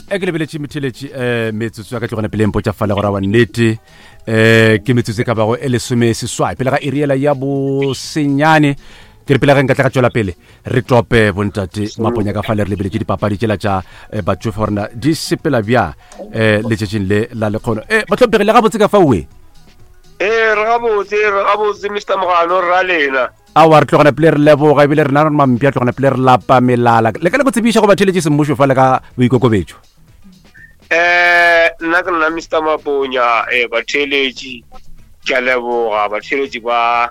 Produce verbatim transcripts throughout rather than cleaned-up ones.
E ke lebeletše metheletši um metsotso ya ka tlogana pele mpotša fale gore wa nnete um ke metsotso e ka bago e lesome seswai pele ga eriela ya bosenyane. Ke re pele ge nka tla ka tšwela pele re tope bontate Maponya ka fale, re lebeletše dipapadi tšela tša eh, batšofe gorena di sepela bjang um letšatšing le la lekgono. E bahlomphegi, le gabotse ka faoe? Ee, re gabotse, re gabotse, Mister Mogano, re ra lena. Awa, re tlogana pele re leboga, ebile rena re mampia tlogana pele re lapa melala. Le ka le go tsebiša go batheletše semmušo fa le ka boikokobetšo. um Nna ke nna Mister Maponya. um Batheeletši, ke a leboga, batheeletši ba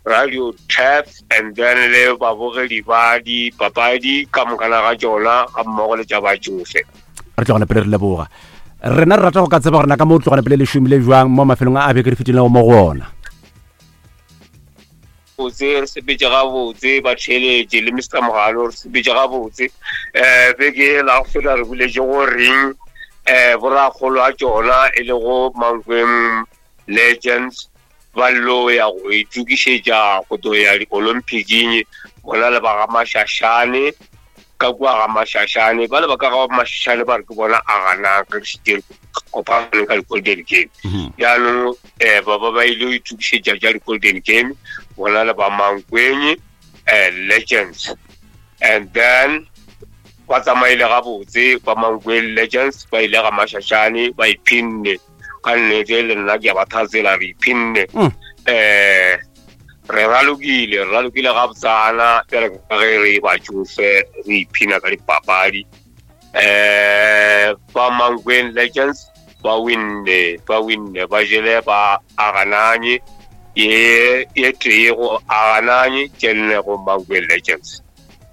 Radio Tap and then le babogedi ba dipapadi ka mokana ga tšona, ga mmogo le tša batšofe. Re tlogana pele re leboga. Rena re rata go ka tseba gore na ka mo tlogana pele le šomile jwang mo mafelong a a beke re fetilego mo go ona. Botse, re sepetse gabotse, batheeletši le Mister Mogalo, re sepetse gabotse. um Beke la go feta re buletše go reng um borakgolo a tšona e le go Mankweng Legends ba llo ya go itokišetša go tlo ya di-Olympicing, bona le ba ga Mašašane ka kua ga Mašašane. Ba le ba ka ga Mašašane ba re ke bona a gana ka re kopane ka di-Golden Game. Jaanong um ba ba ba ile go itokišetša tša di-Golden Game, bona le ba Mankweng um Legends, and then ba tsamaile gabotse. Ba Mankweng Legends ba ile ga Mašašane, ba iphinne ka nnete, le nna ke a ba thatsela, re iphinne. um Re ralokile, re ralokile gabotsana bjale ka ge re batšofe, re iphina ka dipapadi. um Ba Mankweng Legends ba winne, ba winne, ba jele ba agananye ye ye tee go agananye, tše nne go Mankweng Legends.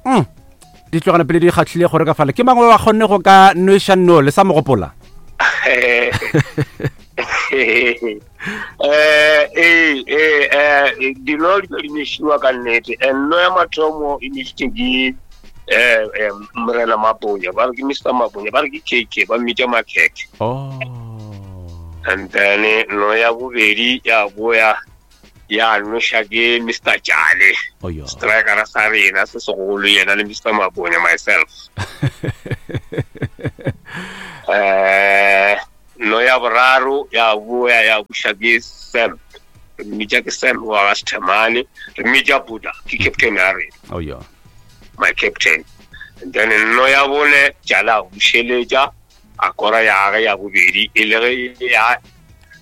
Mm. Di tlogana pele di kgatlhile gore ka fale ke mangwe wa kgonne go ka nweša no le sa mo gopola. eh ee ee eh dino di di mešiwa ka nnete. Nno ya mathomo e mešitše ke eh eh morena Maponya, ba re ke Mister Maponya, ba re ke K K, ba mmitša Makhekhe. Oh. And then no ya bobedi ya boya ya noša ke Mister Jale, Oh, yeah. striker sa rena se segolo, yena le Mister Maponya, myself. eh no ya boraro ya boya ya buša ke Sam, re mmitša ke Sam wa ga Sethemane, re mmitša Buddha, ke captain ya rena. Oh, yeah. My captain. And then no ya bone Jala a bušeletša a kora ya gage ya bobedi, e le ge ya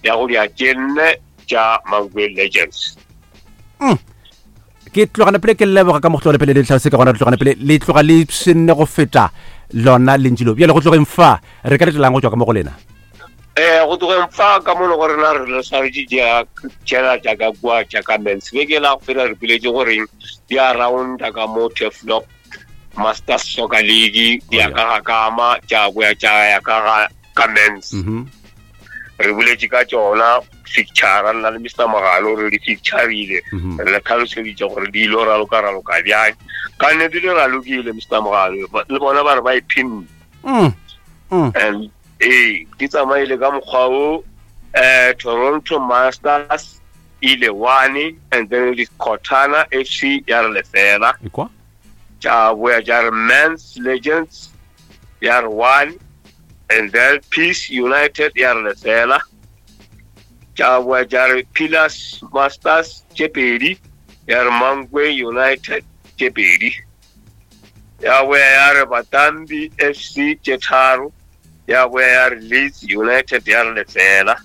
ya go dia tše nne tša Mankweng Legends. Mm. Ke tlogana pele ke leboga ka mo go tlogana pele le tlhalose ka gona. Re tlogana pele le tloga le senne go feta lona lentši leo. Bjale go tlogeng fa re ka letelang go tswa ka mo go lena? um Go tlogeng fa ka mo le go rena re le swaretše tšela tša ka kua tša ka mens. Beke la go fela re piletše goreng di a rounda ka mo Turfloop Masters Soccer League, di ya Oh, ka ga kama tša boya tša ya ka ga ka mens. Mhm. Re boletše ka tšona fixture, nna le Mister Mogalo, re di fixturile. Mhm. Re le tlhaloseditše gore di ilo raloka raloka bjang. Ka nnete di ralokile, Mister Mogalo, Ba- le bona ba re ba iphinne. Mm. Mm. And ee, di tsamaile ka mokgwa o um Toronto Masters ile one, and then Dikgotana F C ya re lefela. Ekwa. Tša boya tša re Mans Legends ya re one, and then Peace United ya re lefela. Tša boya tša re Pillars Masters tše pedi, ya re Mankwe United tše pedi. Ya boya ya re Batambi F C tše tharo, ya boya ya re Leeds United ya re lefela.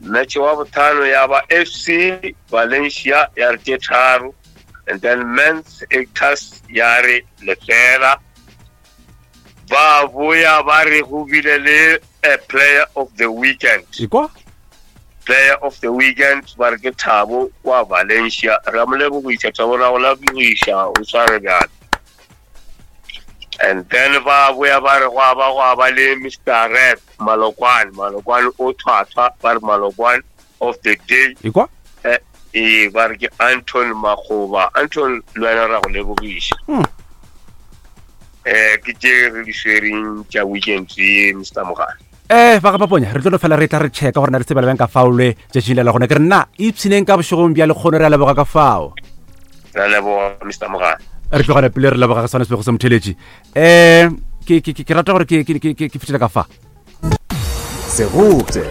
Match wa botlhano ya ba F C Valencia ya re tše tharo, and then Mans Actors ya re lefela. Ba boya ba re go bile le a player of the weekend. Ekwa. Player of the weekend ba re ke Thabo wa Valencia. Re a mo lebogiša Thabo, ra go lebogiša, o tshware bjale. And then ba boya ba re gwa ba gwa ba le Mister Rep Malokwane, Malokwane o thwathwa, ba re Malokwane of the day. Ekwa. eh ee, ba re ke Anton Magoba. Anton, le wena ra go lebogiša. Mm. eh ke tše re di swereng tša weekend ye, Mister Mogale. Eh ba ga Maponya, re tlo no fela re tla re checka gore na re tsebela bjang ka fao le tšatšing le la gona. Ke re nna ipshineng ka bošegong bja lekgono, re a leboga ka fao. Ra leboga, Mister Mogale. Re tlogane pele re leboga ga swana sebego sa motheletši. Um ke ke- ke ke rata gore ke ke- ke- ke ke fetele ka fa. Segopše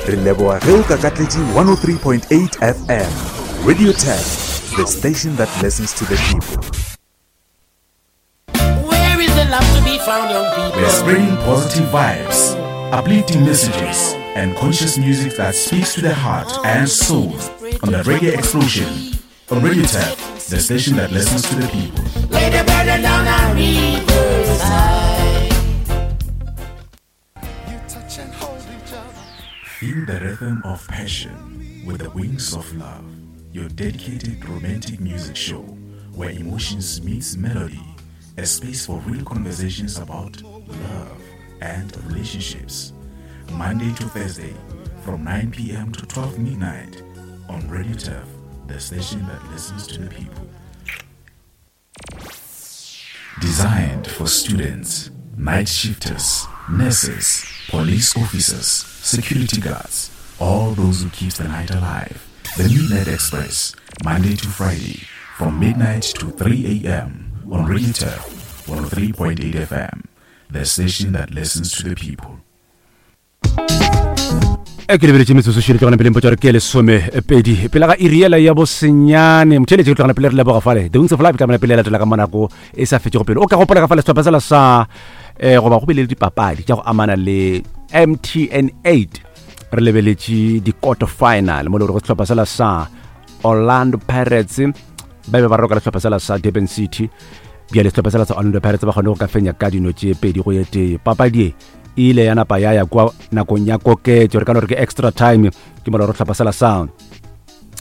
re leboga ge o kakatletše one oh three point eight F M. Radio ten, the station that listens to the people. Where is the love to be found, young people? We're spreading positive vibes, uplifting messages, and conscious music that speaks to the heart and soul on the Reggae Explosion on Radio Turf, the station that listens to the people. Lay the burden down and riverside. Feel the rhythm of passion with the Wings of Love, your dedicated romantic music show where emotions meets melody, a space for real conversations about love and relationships. Monday to Thursday from nine P M to twelve midnight on Radio Turf, the station that listens to the people. Designed for students, night shifters, nurses, police officers, security guards, all those who keep the night alive. The Midnight Express, Monday to Friday, from midnight to three A M on Radio Turf, one oh three point eight F M, the station that listens to the people. E ke lebeletše metsotso šele tlogana pele mpotša gore ke lesome pedi pele ga iri yela ya bosenyane. Motheletše ke tlogana pele re leboga fale The Wings of Life tlamela pele ya latela ka mo nako e sa fetšego pele. O ka gopola ka fale sehlopha sela sa, eh, goba go bile le dipapadi tša go amana le M T N eight. Re lebeletše di-quarter final mo le gore go sehlopha sela sa Orlando Pirates ba be ba roka le sehlopha sela sa Durban City. Bjale sehlopha sela sa Orlando Pirates ba kgone go ka fenya ka dino tše pedi go ye tee. Papadi e e ile ya napa ya ya kwa nakong ya koketšo, re ka no re ke extra time. Ke mola gore sehlopha sela sa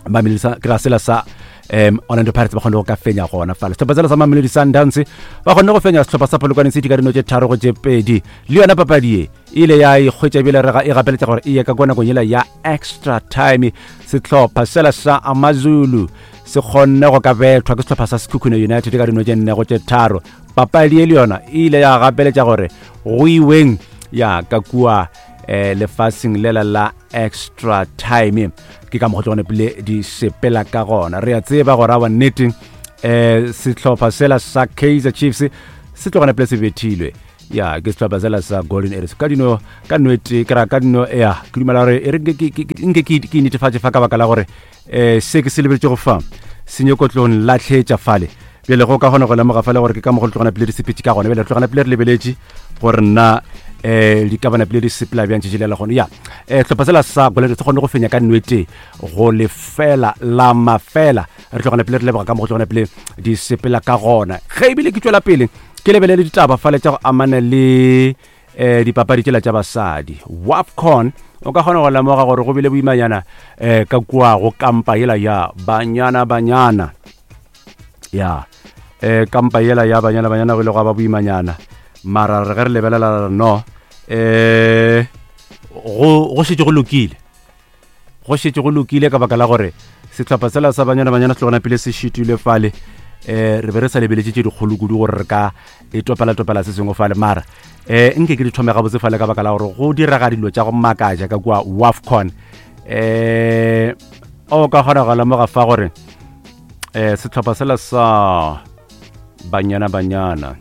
Mamelodi sa, ke ra sela sa, em, Orlando Pirates ba kgone go ka fenya gona fale. Sehlopha sela sa Mamelodi Sundowns ba kgonne go fenya sehlopha sa Polokwane City ka dino tše tharo go tše pedi. Le yona papadi e ile ya ikgwetša ebile re ga, e gapeletša gore e ye ka kwa nakong yela ya extra time. Sehlopha sela sa AmaZulu se kgonne go ka bethwa ke sehlopha sa Sekhukhune United ka dino tše nne go tše tharo. Papadi e le yona e ile ya gapeletša gore go iweng ya ka kua, eh, lefaseng lela la extra time. Ke ka mokgwa tlogane pele di sepela ka gona. Re a tseba gore awa nnete, eh, sehlopha sela sa Kaizer Chiefs se tlogane pele se bethilwe ya ke sehlopha sela sa Golden Arrows ka dino, ka nwete, ke ra ka dino, ya, ke dumela gore e re nke ke, ke, ke, nke ke, ke netefatše fa ka baka la gore, eh, se ke se lebeletše go fa se nyako tlo nlahletša fale. Bjale go ka kgona go lemoga fale gore ke ka mokgwa le tlogana pele di sepetše ka gona. Bjale re tlogana pele re lebeletše gore nna, eh, di ka bana pele di sepela bjang tšatši le la gona. Ya, eh, sehlopha sela sa Golden Arrows se kgonne go fenya ka nwete go lefela la mafela. Re tlogana pele re leboga ka mokgwa tlogana pele di sepela ka gona. Ge ebile ke tšwela pele ke lebelele ditaba fale tša go amana le, eh, dipapadi tšela tša basadi. WAFCON, o ka kgona go lemoga gore go bile boimanyana, eh, ka kua go kampa yela ya Banyana Banyana. Ya, eh, kampa yela ya Banyana Banyana go ile gwa ba boimanyana. Mara re ge re lebelela no, eh, go, go šetše go lokile. Go šetše go lokile ka baka la gore sehlopha sela sa Banyana Banyana se tlogana pele se šitilwe fale. Eh, re be re sa lebeletše tše dikgolo kudu gore re ka e topela-topela se sengwe fale. Mara, eh, nke ke di thome gabotse fale ka baka la gore go direga dilo tša go makatša ka kua WAFCON. Eh, o ka kgona go lemoga fa gore, eh, sehlopha sela sa Banyana Banyana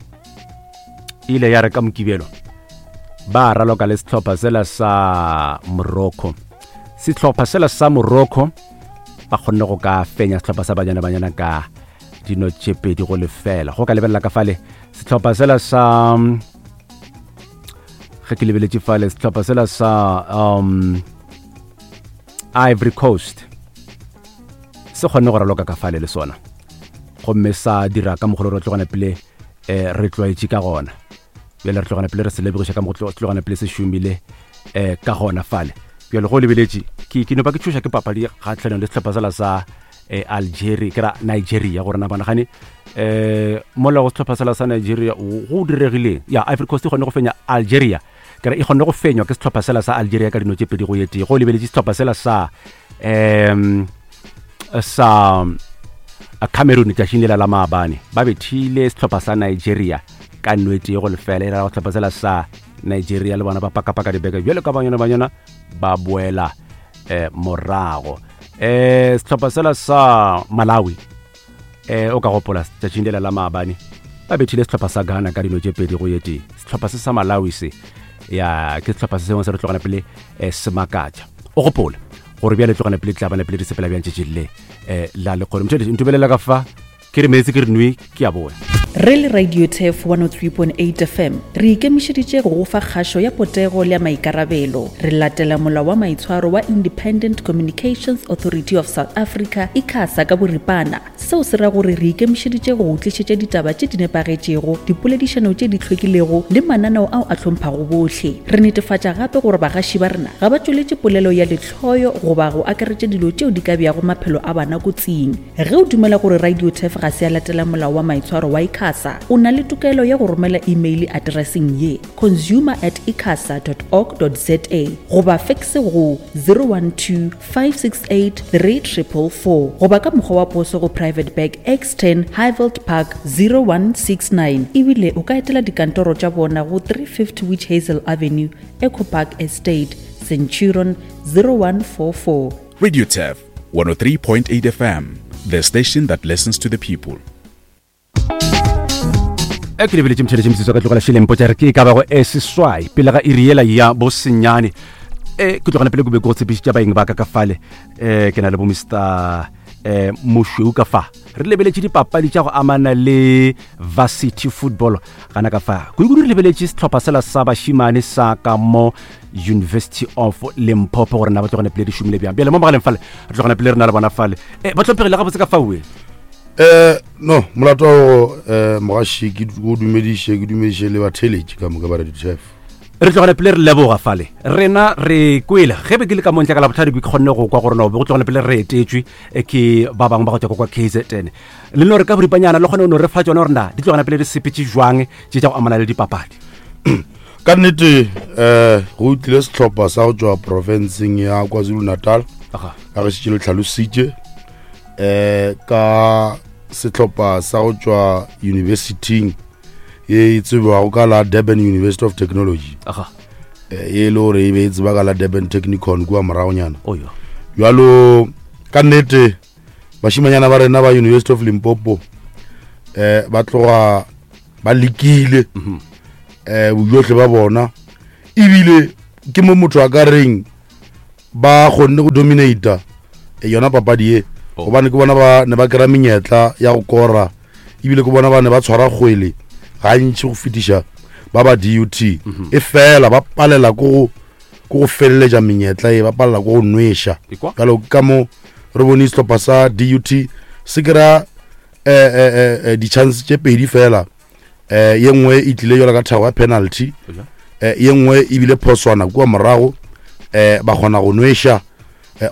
ile ya re ka Mokibelo ba raloka le sehlopha sela sa Morocco. Sehlopha sela sa Morocco ba kgonne go ka fenya sehlopha sa Banyana Banyana ka dino tše pedi go lefela. Go ka lebelela ka fale sehlopha sela sa, ge ke lebeletše fale sehlopha sela sa, um, Ivory Coast se kgonne go raloka ka fale le sona, gomme sa dira ka mokgwa o re tlogana pele, eh, re tlwaetše ka gona. Bjale re tlogana pele re se lebogiša ka mokgwa o tlogana pele se šomile, eh, ka gona fale. Bjale go lebeletše, ke, ke no ba ke tšhoša ke papadi kgahlanong le sehlopha sela sa, eh, Algeria, ke ra Nigeria, gore na bonagane, eh, mola go sehlopha sela sa Nigeria, go, go diregileng? Ya, Ivory Coast e kgonne go fenya Algeria. Ke ra e kgonne go fenywa ke sehlopha sela sa Algeria ka dino tše pedi go ye tee. Go lebeletše sehlopha sela sa, em, sa Cameroon tšatšing lela la maabane, ba bethile sehlopha sa Nigeria ka nno e tee go lefela. E ra go sehlopha sela sa Nigeria le bona ba pakapaka dibeke bjalo ka Banyana Banyana ba boela, eh, morago. Eh, sehlopha sela sa Malawi, um o ka gopola tšatšing lela la maabane ba bethile sehlopha sa Ghana ka dino tše pedi go ye tee. Sehlopha se sa Malawi se ya ke sehlopha se sengwe se re tlogana pele um se makatša. O gopole gore bjale tlogana pele tlabana pele di sepela bjang tšatšing le um la lekgolo. Motšheletše ntumelela ka fa ke re meetse ke re nwe ke a boya. Re le Radio Turf one oh three point eight F M re ikemišeditše go go fa kgašo ya potego le ya maikarabelo. Re latela molao wa maitshwaro wa Independent Communications Authority of South Africa ICASA ka boripana. Seo se ra gore re ikemišeditše go go tlišetša ditaba tše di nepagetšego, dipoledišano tše di hlwekilego le mananeo ao a hlomphago bohle. Re netefatša gape gore bagaši ba rena ga ba tšweletše polelo ya lehloyo goba go akaretša dilo tšeo di ka beago maphelo a bana kotsing. Ge o dumela gore Radio Turf ga se ya latela molao wa maitshwaro wa ICASA, o na le tokelo ya go romela email addresseng ye consumer at icasa dot org dot za goba fax go zero one two five six eight three triple four goba ka mokgwa wa poso go Private Bag X ten Highveld Park zero one six nine. Ebile o ka etela dikantoro tša bona go three fifty Witch Hazel Avenue, Echo Park Estate, Centurion zero one four four. Radio Turf one oh three point eight F M, the station that listens to the people. E ke lebeletše motšheletše metsotso ka tlogela šeleng potša re ke e ka bago e seswai pele ga iri yela ya bosenyane. E ke tlogela pele ke be ke go tshepišitša baeng ba ka ka fale. E ke na le bo Mister eh Mošweu ka fa. Re lebeletše dipapadi tša go amana le varsity football gana ka fa. Kudu-kudu re lebeletše sehlopha sela sa bašimane sa ka mo University of Limpopo gore na ba tlogane pele di šomile bjang. Bjale mo mogaleng fale re tlogana pele re na le bona fale. E ba hlomphegile gabotse ka faue. Eh no molato eh mogaši ke go dumediše ke dumediše le batheletši ka moka ba Radio Turf. Re tlogana pele re leboga fale. Rena re kwele ge be ke le ka montle ka la botlhadi ke kgonne go kwa gore no be go tlogana pele re etetšwe ke ba bangwe ba go tswa kwa K Z N. Le no re ka boripanyana le kgone no re fa tsona gore na di tlogana pele di sepetse jwang tše tša go amana le dipapadi. Ka nnete eh go tlile sehlopha sa go tswa provinceng ya KwaZulu-Natal. Aga. Ka ge šetše le tlhalositše eh ka sehlopha sa go tswa universityng ye e tsebago ka la Durban University of Technology. Aga. E le gore e be e tseba ka la Durban Technikon kua moragonyana. Oyo. Jwalo ka nnete bashimanyana ba rena ba University of Limpopo eh ba tloga ba lekile eh bojohle ba bona ebile ke mo motho a ka reng ba kgonne go dominate yona papadi ye gobane ke bona ba ne ba kry-a menyetla ya go kora ebile ke bona ba ne ba tshwara kgwele gantši go fetiša ba ba D U T e fela ba palela ko go ko go feleletša menyetla e ba palela ko go nweša. Jalo ka mo re bone sehlopha sa D U T se kry-a eh eh di-chance tše pedi fela eh ye nngwe e tlile jalo ka thago ya penalty eh ye nngwe ebile phoswana kua morago eh ba kgona go nweša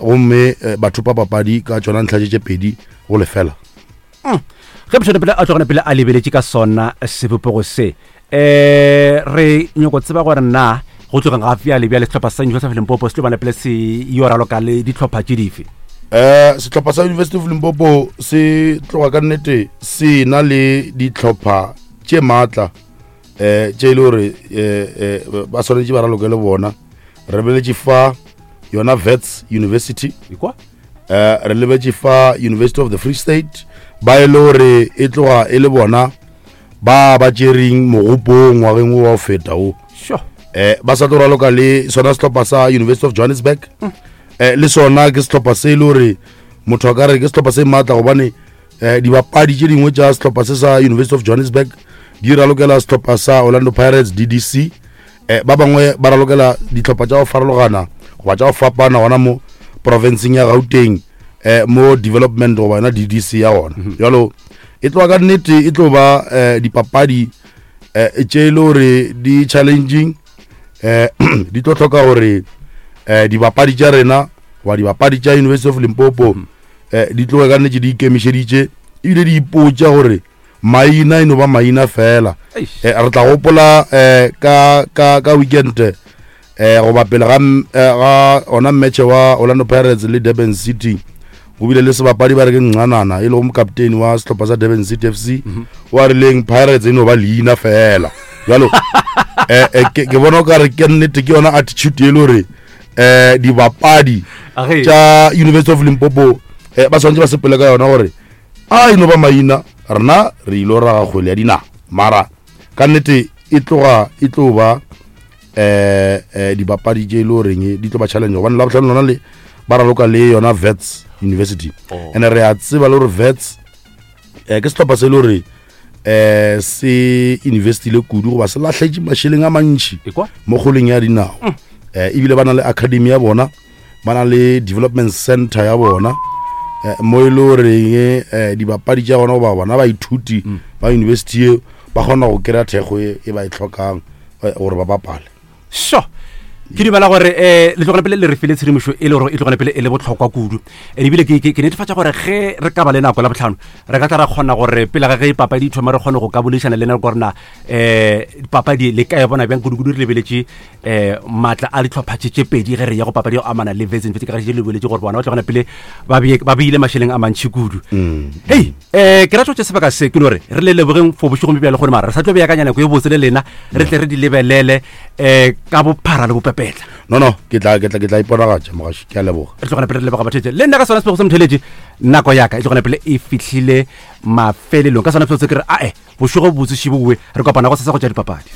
gomme batho ba papadi ka tšona ntlha tše pedi go lefela. Ge motho pele a tlogana pele a lebeletše ka sona sebopego se eh re nyoko tseba gore na go tlogeng ga bjale bjale sehlopha sa University of Limpopo se tlo bana pele se yo raloka le dihlopha tše dife? Eh sehlopha sa University of Limpopo se tloga ka nnete se na le dihlopha tše maatla eh tše e le gore eh ba swanetše ba raloke le bona. Re beletše fa yona Wits University ikwa eh re lebetše fa University of the Free State ba e le gore e tloga e le bona ba ba tšereng mogopong ngwageng wa go feta o. Sure. Eh ba sa tlo raloka le sona sehlopha sa University of Johannesburg. Eh le sona ke sehlopha se e le gore motho a ka re ke sehlopha se maatla gobane eh dibapadi tše dingwe tša sehlopha se sa University of Johannesburg di ralokela sehlopha sa Orlando Pirates D D C. Eh ba bangwe ba ralokela dihlopha tša go farologana goba tša go fapana gona mo provinceng ya Gauteng eh mo development goba yona D D C ya gona. Jalo e tloga ka nnete e tlo ba eh dipapadi eh tše e le gore di challenging eh di tlo hloka gore eh dibapadi tša rena goba dibapadi tša University of Limpopo eh di tloge ka nnete di ikemišeditše ebile di ipotša gore maina e no ba maina fela. Eh re tla gopola eh ka ka ka weekend eh goba pele ga ga ona match wa Orlando Pirates le Durban City go bile le sebapadi ba re ke Ncanana e lego mokapteni wa sehlopha sa Durban City F C wa rileng Pirates e no ba leina fela. Jalo eh ke bona o ka re ke nnete ke yona attitude e le gore eh dibapadi tša University of Limpopo eh ba swanetše ba sepele ka yona gore A ino ba maina rena re ilo raga kgwele ya dinao mara ka nnete e tloga e tlo ba eh eh dibapadi tše e le goreng di tlo ba challenge gobane la botlhano lona le ba raloka le yona Wits University Oh. and re a tseba le gore Wits eh ke sehlopha se e le gore eh se investile kudu goba se lahletše mašeleng a mantši Ekwa? mo kgoleng ya dinao eh ebile ba na le academy ya bona ba na le development center ya bona eh, mo e le goreng eh, dibapadi tša bona goba bona baithuti ba university eo ba kgona go kry-a thekgo e e ba e tlhokang eh, gore ba bapale sure ke dumela gore um le tlogele pele le re file tshedimošo e le gore e tlogele pele e le botlhokwa kudu and ebile ke ke- ke netefatša gore ge re ka ba le nako la botlhano re ka tla ra kgona gore pele ga ge papadi e thoma re kgone go ka boledišana le nako gorena um papadi le ka e bona bjang kudu-kudu re lebeletše um maatla a ditlhopha tše tše pedi ge re ya go papadi ya go amana le Wits University ka ge le lebeletše gore bona ba tlogela pele ba bee- ba beile mašeleng a mantšhi kudu hei um ke rata go tše sebaka se ke no re re le lebogeng for bošegong bjo bjale gore mara re sa tlo beakanya nako e botse le lena re tle re di lebelele um ka bophara le bopepetla no no ke tla ke tla ke tla iponagatša mogaši ke a leboga re tlogela pele re leboga batheetše le nna ka sona sebego sa motheletše nako yaka e tlogela pele e fihlile mafelelong ka sona sebego se ke re ae bošego botse šibowe re kopana go sasa go tša dipapadi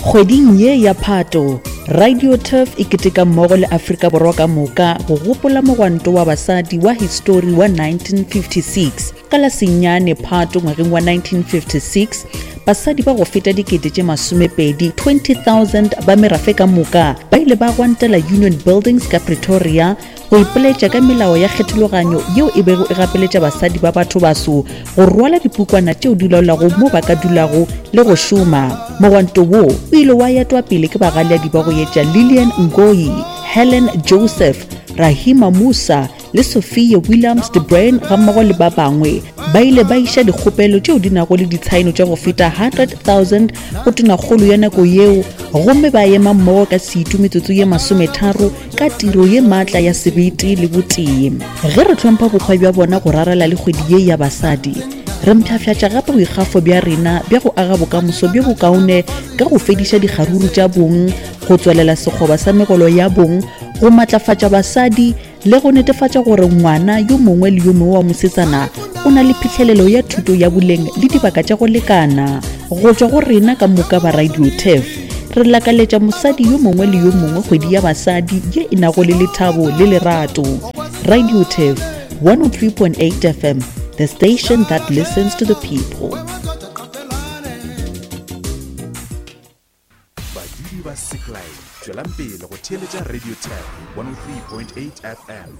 Kgweding ye ya Phato, Radio Turf e keteka mmogo le Afrika Borwa ka moka go gopola mogwanto wa basadi wa histori wa nineteen fifty-six. Ka la senyane Phato ngwageng wa nineteen fifty-six, basadi ba go feta dikete tše masomepedi twenty thousand ba merafe ka moka ba ile ba gwantela Union Buildings ka Pretoria go ipoletša ka melao ya kgethologanyo yeo e bego e gapeletša basadi ba batho baso go rwala dipukwana tšeo di laolago mo ba ka dulago le go šoma. Mogwanto wo o ile wa etwa pele ke bagaleadi ba go etša Lillian Ngoyi, Helen Joseph, Rahima Musa le Sophia Williams de Bruyn gammogo le ba bangwe. Ba ile ba iša dikgopelo tšeo di nago le ditshaeno tša go feta hundred thousand go tonakgolo ya nako yeo gomme ba ema mmogo ka setu metsotso ye masometharo ka tiro ye maatla ya sebete le botee. Ge re hlompha bokgwa bja bona go rarela le kgwedi ye ya basadi, re mpshafšatša gape boikgafo bja rena bja go aga bokamoso bjo bokaone ka go fediša dikgaruru tša bong, go tswalela sekgoba sa megolo ya bong, go matlafatša basadi le go netefatša gore ngwana yo mongwe le yo mongwe wa mosetsana o na le phihlelelo ya thuto ya boleng le dibaka tša go lekana. Go tšwa go rena ka moka ba Radio Turf, re lakaletša mosadi yo mongwe le yo mongwe kgwedi ya basadi ye e nago le lethabo le lerato. Radio Turf one oh three point eight F M, the station that listens to the people. Badudi ba Seklai, tšwelang pele go theeletša Radio Turf one oh three point eight F M.